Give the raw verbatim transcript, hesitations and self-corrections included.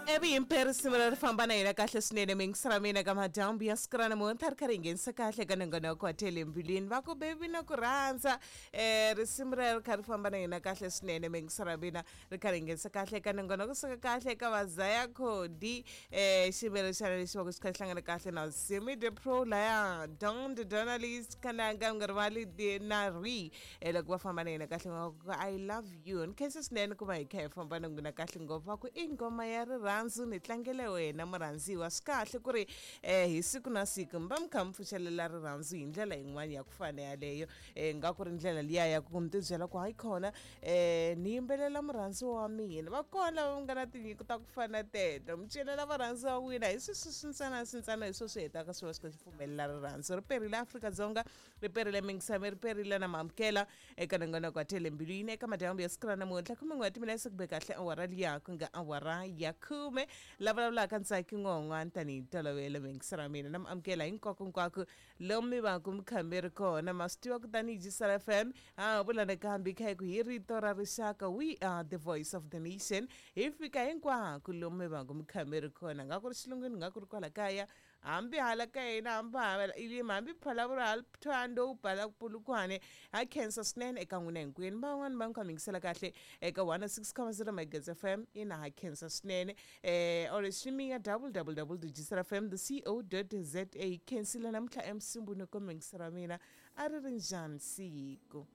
Evi risimu leri famba na yena kahle swinene mingisela mina ka madyambu ya siku ra namuntlha ri kha ri nghenisa kahle ka nongonoko wa tele mbilwini va ku bebi na ku rhandza um risimu rero ri kha ri famba na yena kahle swinene mingisela mina ri kha ri nghenisa kahle ka nongonoko suka kahle ka vazaya khodi um xivelo xana lexi va ku xi kha xi hlangana kahle na Simi the Pro laya Don the Journalist kananga u nga rivali na ri um loko va famba na yena kahle va ku I love you ni khensa swinene ku va hi kha hi famba na n'wina kahle ngopfu va ku i nghoma ya rirhandzu ni tlangele wena murhandziwa swi kahle ku ri um hi siku na siku mi va mi kha mi pfuxelela rirhandzu hi ndlela yin'wana ya ku fana yaleyo um nga ku ri ndlela liya ya ku mi tibyela ku hayi khona um ni yimbelela murhandziwa wa mina va kona lava nga na tinyiko ta ku fana teto mi celela varhandziwa wa n'wina hi sweswi swintsana swintsana hi swo swi hetaka swi va swi kha swi pfumelela rirhandzu ri perile Afrika-Dzonga ri perile mingisame ri perile na maamukela eka nongonoko wa tele mbilwini eka madyambu ya siku ra namuntlha khume n'we wa timina ku be kahle awara liya ku nga awara ya khume la vulavulaka Ntsaki Ngon'wana tanihi ntolovelo mingisela mina na mi amukela hinkwako lomu mi va ku mi kha mi ri kona ma swi tiva kutani Jisela F M ha vula nakambe hi kha hi ku hi rito ra rixaka we are the voice of the nation hi fika hinkwako lomu mi va ku mi kha mi ri kona nga ku ri xilungwini nga ku ri kwala kaya hambi hala ka hina hambi hala ilima hambi Phalaborwa hala Thohoyandou bala Polokwane ha khensa swinene eka n'wina hinkwenu van'wani va mi kha mi yingisela kahle eka one oh six comma zero megahertz F M ina ha khensa swinene eh or streaming ya w w w dot jisela f m dot co dot za khensile namuntlha emsimbuni ko mingisela mina a ri ri njhani siku.